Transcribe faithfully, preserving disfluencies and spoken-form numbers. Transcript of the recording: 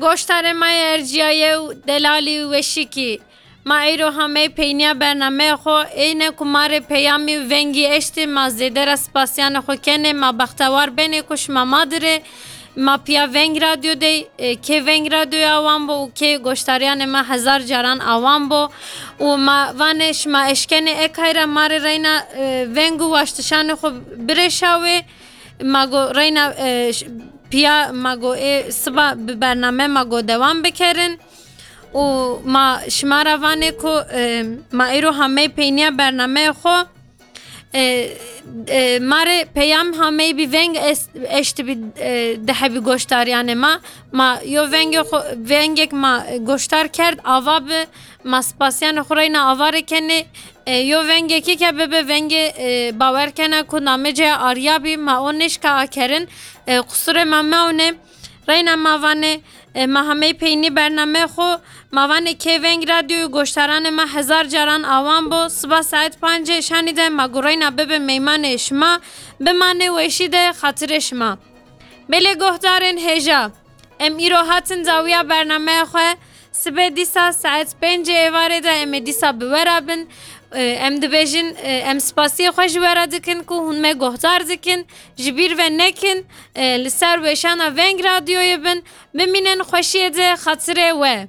Goştarê ma yê erciyayê û delalî û weşîkî. Ma îro hamey peyniya bernameyê xwe, êne ku ma rê peyamî û vengî eştî, ma zêde re spasiyanê xwe kenê, ma bextewar benê ku şima ma dirê, ma piya Veng Radyo dey, e, kê Veng Radyoya wan bo û kê goştariyanê me hezar caran awan bo û ma vanê şima eşkenê ekay re ma rê reyna, e, veng û waştişanê xwe birêşa wê. Ma go reyna, e, ş-, piya ma go ê siba bi bername ma go dewam bikerin û ma şima re vanê ku, e, ma îro hamey peyniya bernameyê xwe, e, e, ma rê peyam hamey bi veng es-, eşti bi, e, dehebî goştariyanê ma. Ma yo vengê xwe, vengek ma goştar kerd, ava bi, ma spasiyanê xwe reyna ava rê kenê. E, yo vengekî ke bibe vengê, e, bawer kena ku namê cê ariya bî, ma o nêşka akerin, e, qusurê ma mewnê. Reyna ma vanê, e, ma hamey peynî bernameyê xwe, ma vanê kê Veng Radyoyê goştaranê me hezar caran awan bo, siba saet pancê şanî de ma gu reyna bibe meymanê şima, bimanê weşî de xatirê şima. Belê guhdarên hêja, em îro hatin dawiya bernameya xwe. Sibê dîsa saet pêncê êvarê de em ê dîsa bi we re bin. E, em dibêjin, e, em spasiyê xwe ji we re dikin ku hûn me guhdar dikin. Ji bîr ve nekin, e, li ser weşana Veng Radyoyê bin. Bimînin xweşiyê de xatirê we.